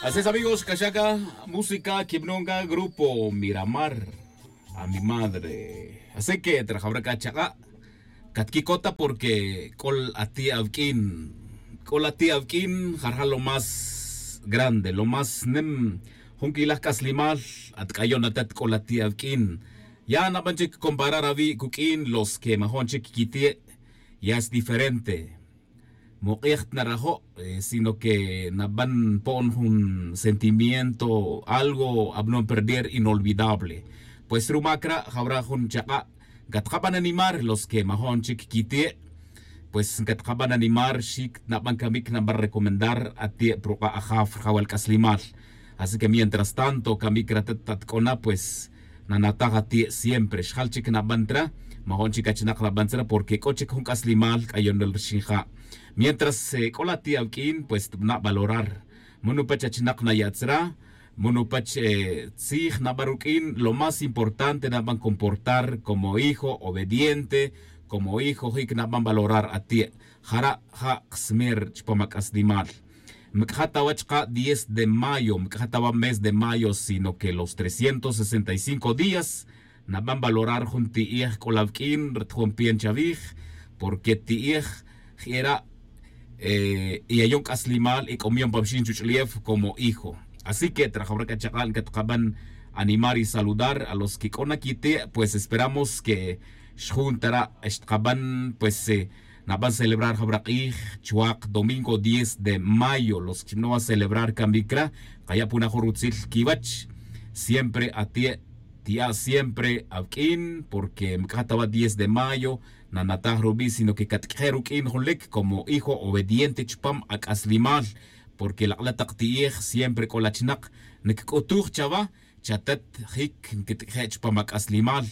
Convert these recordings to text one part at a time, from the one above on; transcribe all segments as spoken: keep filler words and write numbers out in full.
Así es, amigos, cachaca música quibnonga grupo miramar a mi madre. Así que trajabra cachaca catquicota porque col ati avquin col ati avquin jarja lo más grande, lo más nem. Junquilaj c'aslimal atc'ayon atat col ati avquin. Ya naban chic comparar avi' cuq'uin los que majon chic quiti'. Ya es diferente. Muk'ij ta narajo', sino que naban po'on jun sentimiento, algo abnon perder inolvidable. Pues ruma cra' jawra jun chak'a' catkaban animar los que majo'n chic quiti'. Pues catkaban animar xic naban camic naban recomendar ati' pruk'a' ajaf rjawal c'aslimal. Así que mientras tanto camic ratat tatc'ona pues nanataj ati' siempre xjal chic naban tra. Majo'n chic achinak naban tra porque c'o chic jun c'aslimal c'ayonel rixin ja'. Mientras c'o la ti' awq'uin pues tbana' valorar. Munu pach achinak naya' tzra, munu pach tzij naban ruq'uin lo más importante naban comportar como hijo obediente, como hijo jic naban valorar ati'. Jara' ja' ksmer chupam ac'aslimal. Mc'ja' ta wa chka' diez de mayo mc'ja' ta wa mes de mayo sino que los trescientos sesenta y cinco días naban valorar jun ti'ej c'o la wq'uin ritjom pian chawij. Porque ti'ej jera' y ayon c'aslimal y c'omion pa wixin chuch'ulef como hijo. Así que trajawra c'a chak'a' catkaban animar y saludar a los que c'o na quiti' pues esperamos que xjun tara' xtkaban pues naban celebrar jawra k'ij chwak domingo diez de mayo los que ximno wa celebrar camic ra. Kaya' puna jun rutzil quiwach siempre ati' ti'a' siempre awq'uin porque mc'ja' ta wa diez de mayo nanataj rubi' sino que catq'uije' ruq'uin junlic como hijo obediente chupam ac'aslimal. Porque lak'la' tak ti'ej siempre c'o la chinak nc'utuj chawa chatet jic nquitq'uije' chupam ac'aslimal.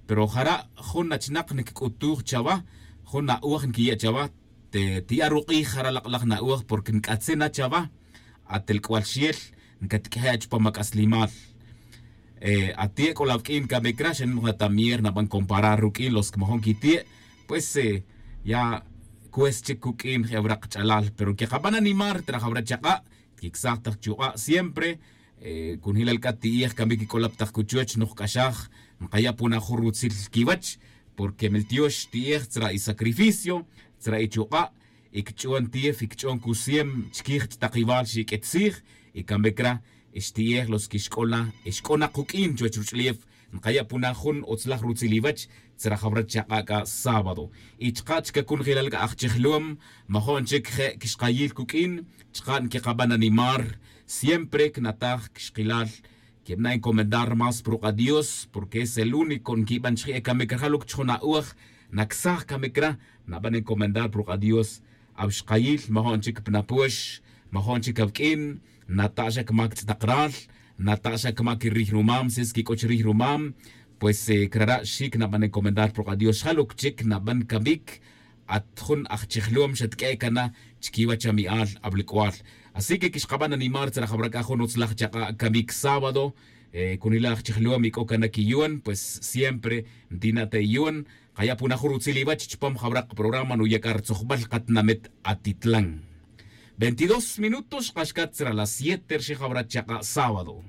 Pero jara' jun achinak nc'utuj chawa jun na'oj nquiya' chawa. Ti'a' ruk'ij jara' lak'laj na'oj porque nc'atzin na chawa. Atel c'ual xel ncatq'uije' chupam ac'aslimal. Ati' c'o la wq'uin camic ra xa noj na tamier naban comparar ruq'uin los que majon quiti'. Pues ya cuest chic cuq'uin je' awra kch'alal pero que kaban animar trajawra chak'a' tquicsaj tak chuk'a' siempre. Cunjilal c'a ti'ej camic c'o la pa tak cuchuch noj c'axaj nkaya' puna jun rutzil quiwach. Porque miltiox ti'ej tzra' y sacrificio tzra' y chuk'a' y cch'on tiyef y cch'on cusiem chiquij chtakiwal xiq'uet tzij. Y camic ra xti'ej los que xc'o la xc'o na kuq'uin chuwech ruch'ulef. Nkaya' puna jun utzlaj rutzil iwech tzra jawra chak'a' c'a sábado. Y chka' chca cunjelal c'a ajchijlom majo'n chic je' quixkayil cuq'uin chka' nquikaban animar. Siempre cnataj quixkilal quibana' encomendar más pruk'a' dios porque es el único nquiban chije' camic rajal uc chujun a'oj. Nacsaj camic ra naban encomendar pruk'a' dios. Awixkayil majo'n chic pa napox majo'n chic awq'uin nata' xa cmac tz'atak ral nata' xa cmac rij rumam si es que c'o chirij rumam. Pues crara' xic naban encomendar pruk'a' dios xjal uc chic naban camic. At jun ajchijlom xatq'ue' cana chiquiwach ami'al awlic'ual. Así que quixkaban animar tzra jawra c'a jun utzlaj chak'a' camic sábado. Cunila' ajchijlom y c'o cana quiyuon pues siempre ntina' ta iyuon. Kaya' puna jun rutzil iwech chupam jawra kaprograma nuya' c'a ritzujbal katinamit atitlan. Veintidós minutos xkaxcat tzra las siete rixin jawra chak'a' sábado.